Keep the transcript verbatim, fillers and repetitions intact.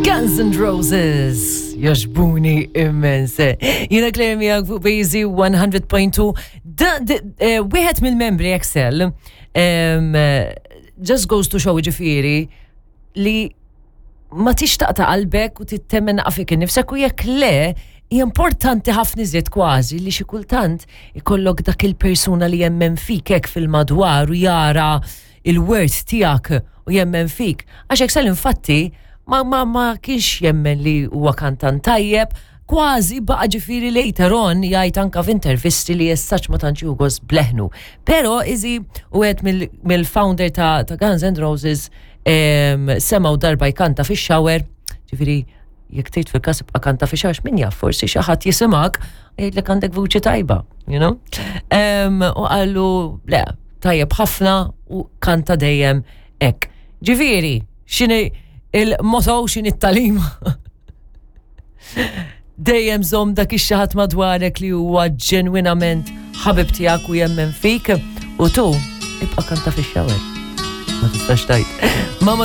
Guns N' Roses, jogħġbuni immens. Jiena Claire miegħek fuq Bazy one hundred point two. Da- d- eh, Wieħed mill-membri Axl, em, eh, just goes to show, ġifieri, li ma tixtaq ta' qalbek u tittemmen fik innifsek u jekk le, hija importanti ħafna iżjed kważi li xi kultant ikollok dak il-persuna li jemmen fik hekk fil-madwar u jara il-worth tiegħek u jemmen fik. Għax Axl infatti ma, ma, ma kienx jemmen li huwa kantant tajjeb, kważi baqa, ġifieri, later on jgħid anka f'intervisti li jessaċ ma tantx jieħu gost b'leħnu. Pero izi u għed mill-founder ta', ta' Guns N' Roses em, semgħu darba jkanta fix-shower, ġifieri jekk tgħid fil-każ ibqa' kanta fix-shower, min jaf, forsi xi ħadd jisimak jgħidlek għandek vuċi tajba, you know? Em, U qallu le, tajjeb ħafna u kanta dejjem hekk. Ġifieri, x'inhi il-motto, x'inhi t-tagħlim? Dejjem żomm dak ix-xi ħadd madwarek li huwa ġenwinament ħabib tiegħek u jemmen fik u tu ibqa' kanta fix-shower. Ma tistax tgħid. Mama.